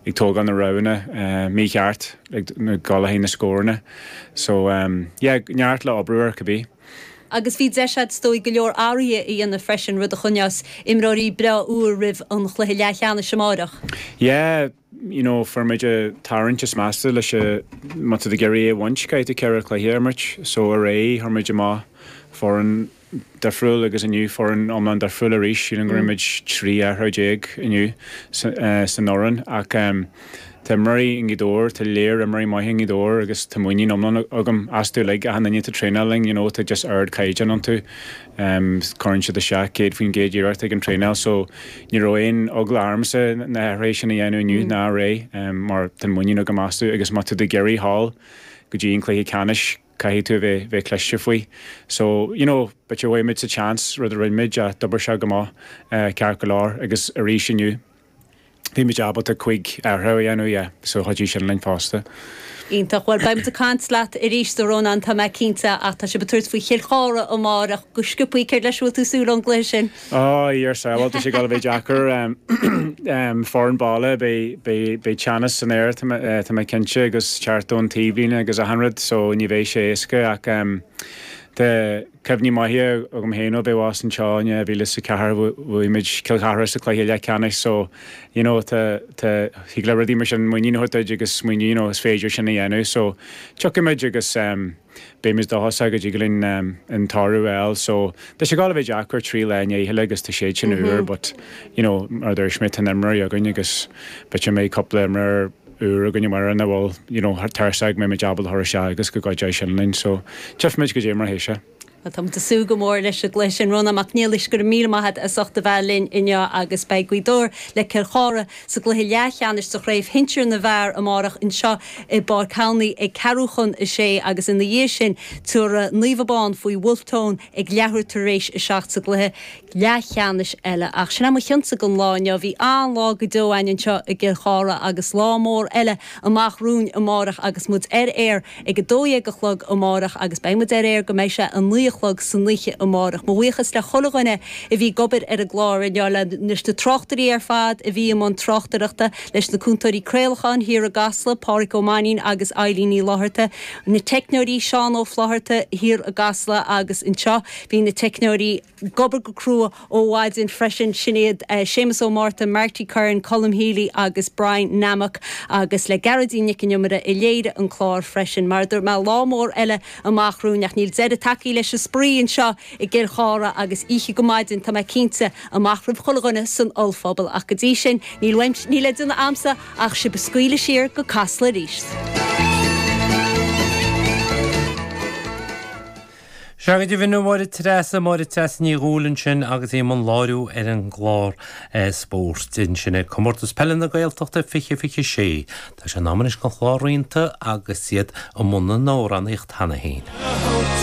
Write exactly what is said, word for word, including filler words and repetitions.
ag tógáil na roghanna uh, mícheart ag dul le na scóranna. So um, yeah, neart le obair ar cibé. Agus bhí deis agat is dóigh go leor athruithe a dhéanamh freisin rud a choinneos imreoirí breá úr roimh an chluiche leathcheannais amárach. Yeah, you know, fuair muid tarraingt is measa leis má tá ag iarraidh a bhaint caithfidh tú ceithre chluiche a imirt, so aréir chuir muid amach foireann difriúil agus inniu foireann iomlán difriúil arís sílim go raibh muid trí athrú déag inniu san fhoireann ach um, Tá imreoirí i nGaoth Dobhair, tá léir imreoirí maithe i nGaoth Dobhair agus tá muinín iomlán agam astu uilig achan duine atá traenáil linn, you know, tá just ardchaighdeán iontu. Um, cuireann siad isteach céad faoin gcéad iarracht ag an traenáil, so ní raibh aon eagla ormsa na hathruithe sin a dhéanamh inniu ná aréir um, mar tá muinín agam astu agus má tá tú ag iarraidh dul go dtí an cluiche ceannais caithfidh tú bheith bheith cliste faoi. So, you know, b'fhéidir bhfuair muid sa chance rud a rinne muid a d'oibir sé go maith uh, ceart go leor agus arís inniu. Bhí muid ábalta cúig athrú a dhéanamh yeah, so chuidigh sin linn fosta. Iontach bhuel beidh muid ag caint leat arís a Rónán tá mé cinnte ach tá sibh ag tabhairt faoi Chill Chartha amárach go sciobtha céard leis bhfuil tú súil ón gcluiche sin. Á ar sábháil tá sé ag dul a bheith deacair um, foireann baile beidh teannas san aer tá mé cinnte agus teacht ón taobhlíne agus achan rud so ní bheidh sé éasca ach um, Tá cuimhní maithe agam féin ó bheith abhus anseo in dhá mhíle is a ceathair bhuaigh muid Cill Chartha sa cluiche leathcheannais so you know tá tá thig le rudaí mar sin muinín a thabhairt agus smaoineamh you know, is féidir sin a dhéanamh so tiocfaidh muid agus um, beidh dóchasach go dtig linn um, an toradh a fháil so tá sé ag dul a bheith deacair trí lá i ndiaidh agus tá sé sin úr but you know mar dúirt mé tá imreoirí againn agus b'fhéidir mé cúpla imreoir úr againn mar na bhfuil you know tuirseach mé ábalta a chur agus go gcuideoidh sin linn so tchífimid goidé mar a théas sé. Tá ag súil go mór leis an gcluiche sin Rónán Mac Niallais go raibh míle maith as ucht a bheith linn inniu agus beidh Gaoth Dobhair le Cill Chartha sa gcluiche leathcheannais sa chraobh shinsir na bhfear amárach anseo i bPáirc Annaí ag ceathrú chun a sé agus ina dhiaidh sin tabharfaidh Naomh Abán faoi Wolfe Tone ag leathuair tar éis a seacht sa gcluiche leathcheannais eile ach sin é mo chionsa don lá inniu bhí an-lá go deo againn anseo i gCill Chartha agus lá mór eile amach romhainn amárach agus muid ar aer ag a dó dhéag a chlog amárach agus beidh muid ar aer go mbeidh sé a naoi a chlog san oíche amárach. Mo bhuíochas le chuile dhuine a bhí ag obair ar an gclár inniu le leis na tráchtairí ar fad a bhí i mbun tráchtaireachta leis na cúntóirí craolacháin thiar i gCasla, Pádraig Ó Mainín agus Eilín Ní Fhlatharta, na teicneoirí Seán Ó Flatharta thiar i gCasla agus anseo bhí na teicneoirí ag obair go crua ó mhaidin freisin sin iad uh, Séamus Ó Márta, Marty Curran, Colm Healy agus Brian Nammock agus le Gearóidín Nic an Iomaire a léirigh an clár freisin, mar dúirt mé lá mór eile amach romhainn ach níl deireadh tagtha leis an spraoi anseo i gCill Chartha agus oíche go maidin tá mé cinnte amach roimh chuile dhuine san ollphuball ach go dtí sin níl níl le déanamh agamsa ach sibh a scaoileadh siar go Casla arís. Sea go deimhin Máire Treasa Máire Treasa Ní Dhúill ansin agus í i mbun láithriú ar an gclár spóirt ansin ag Comórtas Peile na Gaeltachta fiche fiche sé. Tá sé in am anois don chlár Rianta agus iad i mbun na n-amhránaíocht cheana féin.